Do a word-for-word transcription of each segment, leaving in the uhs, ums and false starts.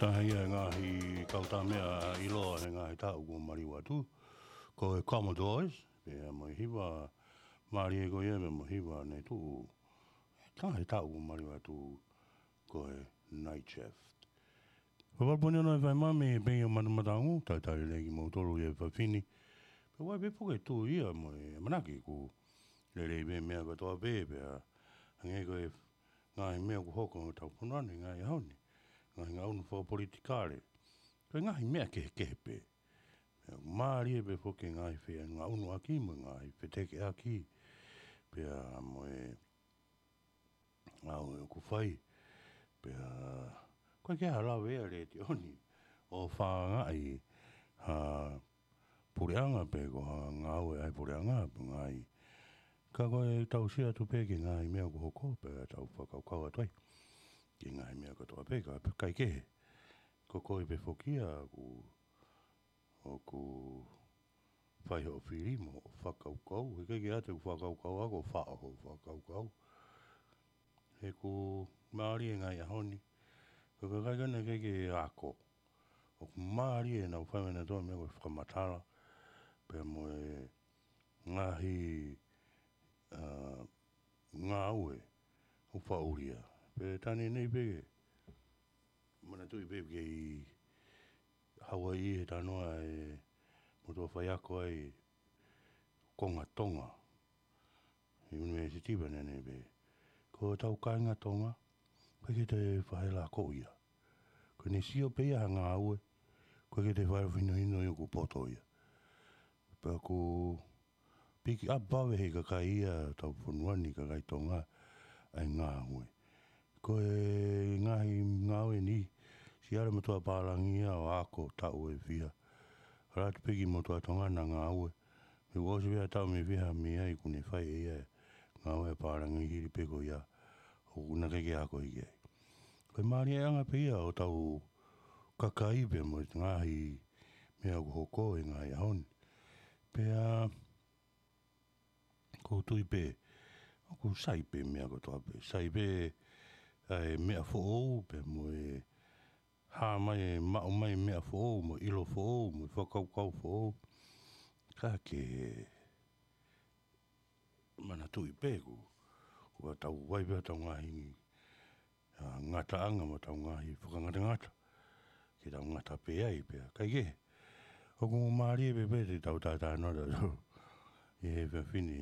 Taha ia e ngaahi kautaha meʻa ʻiloa he ngaahi taʻu kuo maliu atu, ko e Commodores, pea mo e hiva mālie ko ia, pea mo e hiva ne tuʻu he ngaahi taʻu kuo maliu atu, ko e Night Shift. Pea pau pē ʻeni ʻa e fai mai mei he pei ʻo Manu Matangu, talitali lelei kimoutolu ʻi he efiafi ni. Pea ʻoku ʻi ai pē foki e tui ia mo e ʻamanaki ʻoku lelei pē meʻa kotoa pē, pea hangē ko e ngaahi meʻa ʻoku hoko ʻi hotau fonua ni he ngaahi ʻaho ni, ngaahi ngaʻunu fakapolitikale, ko e ngaahi meʻa kehekehe pē. Pea mālie pē foki e ngaahi fengaʻunuʻaki mo e ngaahi fetekeʻaki, pea mo e ngāue ʻoku fai. Pea ʻoku ʻikai ke ʻi ai ha lave ʻa e letiō ni ʻo fakaangaʻi ha puleʻanga pe ko ha ngāue ʻa e puleʻanga pe ngaahi. Ka ko e tau sio atu pē ki he ngaahi meʻa ʻoku hoko pea tau fakakaukau atu ai ki he ngaahi meʻa kotoa pē, ka ʻikai kehe. Ko koe pē foki ia ʻoku ʻoku fai hoʻo fili mo hoʻo fakakaukau, he ʻikai ke ʻoatu ʻeku fakakaukau au, ko e faʻo hoʻo fakakaukau. He ʻoku mālie e ngaahi ʻaho ni, ko e kakai ko ena ʻikai ke ako. ʻOku mālie ʻenau fai mai ʻenautolu e meʻa ko e fakamatala, pea mo e ngaahi, ā, ngāue ʻoku faʻulia. Pea tā neʻineʻi pē ke manatuʻi pē ke ʻi Hauaiʻi he talanoa e motuʻa faiako ʻa e konga Tonga he ʻunivēsiti, pea neʻineʻi pē ko hotau kāinga Tonga, ʻoku ʻikai ke toe fai ha lākoʻi ia. Ko ʻene sio pē ia ha ngāue, ʻoku ʻikai ke toe fai ha finohino ia ʻoku poto ia. Pea ʻoku pick up vave ʻe he kakai ia ʻo hotau fonua ni, kakai Tonga, ʻa e ngāue. Ko e ngaahi ngāue ni, siʻi ʻalu e motuʻa pālangi ia ʻo ako taʻu ʻe fiha. ʻAlu atu pē ki he motuʻa Tonga naʻa ngāue. Mei he ʻosi pē ha taʻu mei fiha mei ai kuo ne fai ʻe ia e ngāue ʻa e pālangi hili pē ko ia ʻoku na ʻikai ke ako hiki ai. Ko e mālieʻanga pē ia ʻo hotau kakai pea mo e ngaahi meʻa ʻoku hoko he ngaahi ʻaho ni. Pea ʻoku ou tui pē ʻoku sai pē meʻa kotoa pē. Sai pē ʻa e meʻa foʻou pea mo e hā mai, maʻu mai meʻa foʻou, mo e ʻilo foʻou, mo e fakakaukau foʻou. Ka ke manatuʻi pē ʻoku, ʻoku tau ʻi ai pē hotau ngaahi, ā, ngataʻanga mo hotau ngaahi fakangatangata ke tau ngata pē ai pea ʻikai ke. ʻOku mālie pē pē te tau tātānaki ʻi he efiafi ni,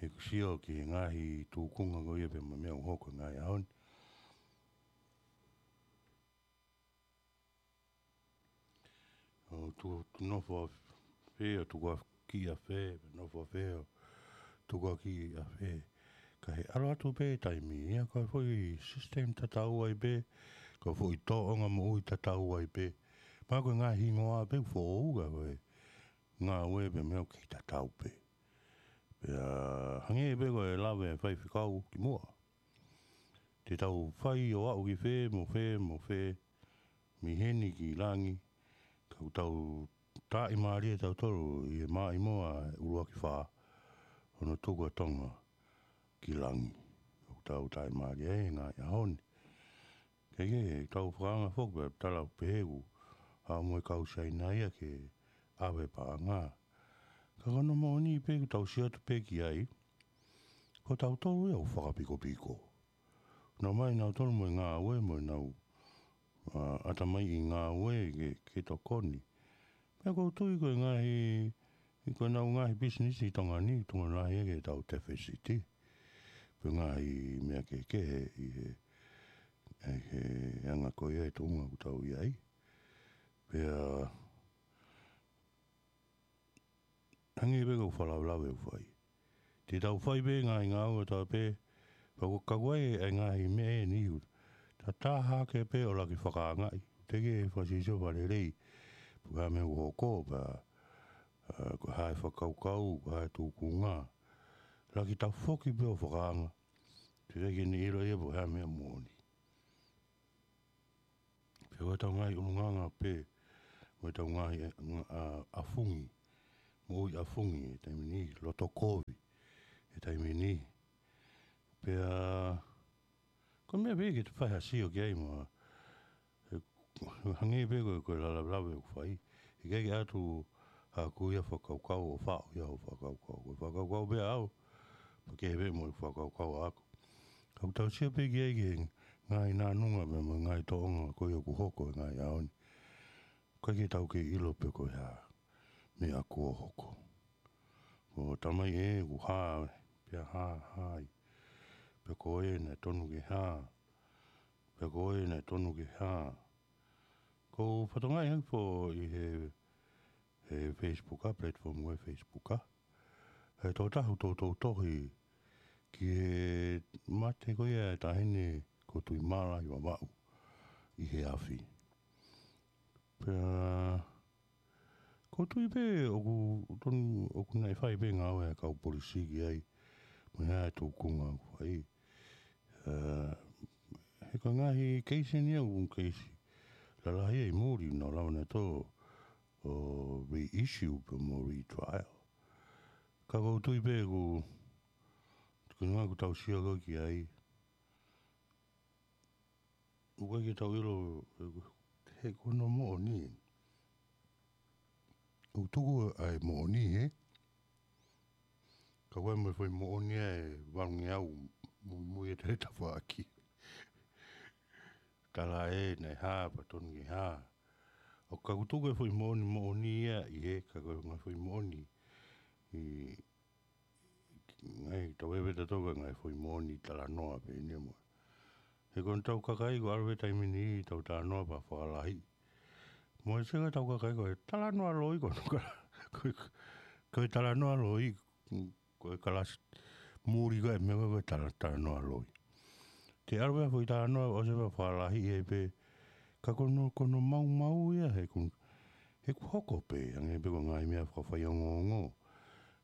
he ʻoku sio ki he ngaahi tūkunga ko ia pea mo e meʻa ʻoku hoko he ngaahi ʻaho ni. ʻO tu, tu nofo ʻafē, ʻo tukuakiʻi ʻafē, nofo ʻafē, ʻo tukuakiʻi ʻafē. Ka he ʻalu atu pē taimi ia, ko e foʻi system tatau ai pē, ko e foʻi tōʻonga moʻui tatau ai pē. Pea ko e ngaahi hingoa pē foʻou, ka ko e ngāue pē meʻa ʻoku kei tatau pē. Pea hangē pē ko e lave ʻa e faifekau kimuʻa. Te tau fai ʻo aʻu ki fē mo fē mo fē, mei heni ki langi, ka ʻoku tau tāʻimālie tautolu ʻi he maʻimoa ʻuluaki fā, hono tuku ʻa Tonga ki langi. ʻOku tau tāʻimālie ai he ngaahi ʻaho ni. Ke ke tau fakaanga foki pea tala pehē ʻoku haʻu mo e kau Siaina ia ke ʻave paʻanga. Ka ko hono moʻoni pē ʻoku tau sio atu pē ki ai, ko tautolu ia ʻoku fakapikopiko. Nau mai nautolu mo e ngāue mo ʻenau, ā, ʻatamaiʻi ngāue ke, ke tokoni. Pea ʻoku ou tui ko e ngaahi, ʻi ko ʻenau ngaahi pisinisi ʻi Tonga ni, Tonga lahi ke tau tefesiti. Pea ngaahi meʻa kehekehe ʻi he, ʻi he anga ko ia e tuʻunga ʻoku tau ʻi ai. Pea hangē pē ko e fakalavelave ʻoku fai. Te tau fai pē ngaahi ngāue ʻatautolu pē, pea ʻoku kau ai e ngaahi meʻa ʻe niʻihi. Tatā hake pē ʻo laki fakaangaʻi. Te ke fakasisio fakalelei. Pea ko e hā e meʻa ʻoku hoko, pea, ā, ko e hā e fakakaukau, ko e hā e tūkunga. Laki tafoki pē ʻo fakaanga. Te ke ne ʻilo ia pea ko e hā e meʻa moʻoni. Pea ko ʻetau ngaahi ʻulungaanga pē, mo ʻetau ngaahi, ā, ʻafungi, moʻui ʻafungi he taimi ni, loto kovi he taimi ni. Pea, ko e meʻa pē ke te fai ha sio ki ai mo, he hangē pē ko e, ko e lalavelave ʻoku fai. ʻIkai ke ʻatu haʻaku ia fakakaukau ʻo faʻo ia hoʻo fakakaukau. Ko e fakakaukau pē ʻaʻau, pea kehe pē mo e fakakaukau ʻaʻaku. Ka ʻoku tau sio pē ki ai ki he ngaahi nānunga pea mo e ngaahi tōʻonga ko ia ʻoku hoko he ngaahi ʻaho ni. ʻIkai ke tau kei ʻilo pe ko e hā e meʻa kuo hoko. Ko e tamai ē, kuo hā, pea hā, hā ai. Pe ko ē naʻe tonu ke hā, pe ko ē naʻe tonu ke hā. ʻOku ou fakatokangaʻi hake foki ʻi he, he Facebook ʻa, platform ʻo e Facebook ʻa, he tokotaha ʻoku toutou tohi ki he mate ko ia e taʻahine ko Tuʻimālai Vavaʻu ʻi he afi. Pea ʻoku ou tui pē ʻoku tonu, ʻoku naʻe fai pē ngāue ʻa e kau polisi ki ai, mo e hā e tūkunga ʻoku fai. ʻA, he ko e ngaahi keisi eni ia ʻoku keisi lalahi ia ʻi muli, naʻa nau lava nautolu ʻo reissue pea mo retrial. Ka ʻoku ou tui pē ʻoku, ko e ʻuhinga ʻoku tau sio ko ē ki ai, ʻoku ʻikai ke tau ʻilo, he ko hono moʻoni. ʻOku tuku ʻa e moʻoni, he? Ka ʻoku ʻi ai mo e foʻi moʻoni ʻa e valungeau muimui ʻa e tafaʻaki. Tala ē naʻe hā pea tonu ke hā. ʻOku, ka ʻoku tuku e foʻi moʻoni, moʻoni ia ʻi he, ka ko e ngaahi foʻi moʻoni ʻi, ngaahi tau ʻeve tautolu ko e ngaahi foʻi moʻoni talanoa pē eni ia mo. He ko ʻetau kakai ko ē ʻalu he taimi ni ʻo talanoa pea fakalahi. Mo e seka ʻetau kakai ko e talanoa loi ko ē, ko e, ko e talanoa loi, ko e kalasi muli ko ē meʻa ko ē ko e tala-, talanoa loi. Te ʻalu pē foʻi talanoa ʻo se pea fakalahi ai pē, ka ko hono, ko hono maumau ia he ʻoku, he ʻoku hoko pē, hangē pē ko e ngaahi meʻa fakafaiongoongo.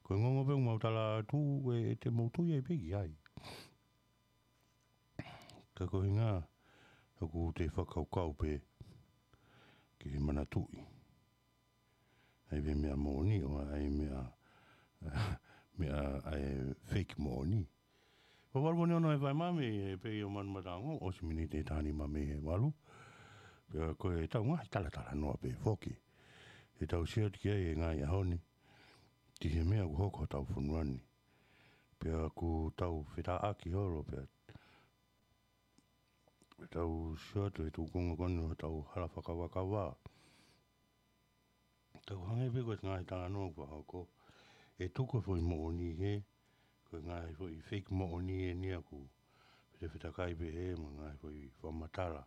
Ko e ongoongo pē ʻoku mau tala atu, ʻe, ʻe te mau tui ai pē ki ai. Ka ko e ʻuhinga ʻoku te fakakaukau pē ke manatuʻi ʻa e meʻa moʻoni ʻo ʻa e meʻa, meʻa ʻa e fake moʻoni. Ko e valu pē ʻeni ʻo e fai mami, he pē ʻi ʻo manu matango, ʻosi miniti ʻe taha nima mei he valu. Pea ko ʻetau ngaahi talatalanoa pē foki. ʻEtau sio atu ki ai he ngaahi ʻaho ni, ki he meʻa ʻoku hoko hotau fonua ni. Pea ʻoku tau fetāʻaki holo pea tau sio atu he tūkunga ko eni hotau hala fakavakavá. Tau hangē pē ko e ngaahi talanoa ʻoku fakahoko. ʻE tuku e foʻi moʻoni he, ko e ngaahi foʻi fake moʻoni eni ia ʻoku fetafetakai pē he, mo e ngaahi foʻi fakamatala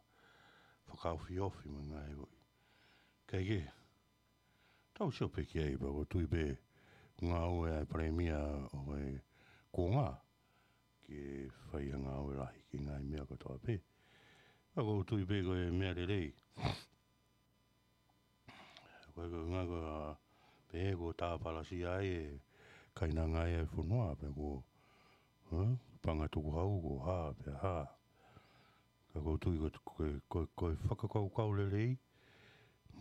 fakaofiofi mo e ngaahi foʻi. Kae kehe, tau sio pē ki ai pea ʻoku ou tui pē ngāue ʻa e palēmia ʻo e kuonga ke fai ha ngāue lahi ki he ngaahi meʻa kotoa pē. Pea ʻoku ou tui pē ko e meʻa lelei. Ko e, ko e ngaahi ko ē pehē kuo tāpalasia ai e kainanga ʻa e fonua pea kuo, ē, panga tukuhau kuo hā pea hā. Ka ʻoku ou tui ko, ko, ko, ko e fakakaukau lelei,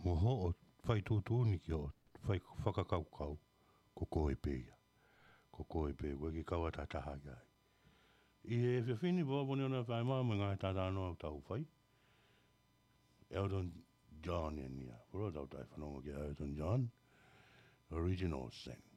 mo hoʻo fai tuʻutuʻuni ki hoʻo fai fakakaukau, ko koe pē ia. Ko koe pē, ʻoku ʻikai ke kau atu ha taha ia ai. ʻI he efiafi ni, pea ʻoku ou poni ona fai mai mo e ngaahi talatalanoa ʻoku tau fai. Elton John eni ia. Polo tau tai fanongo ki Elton John. Original Sin.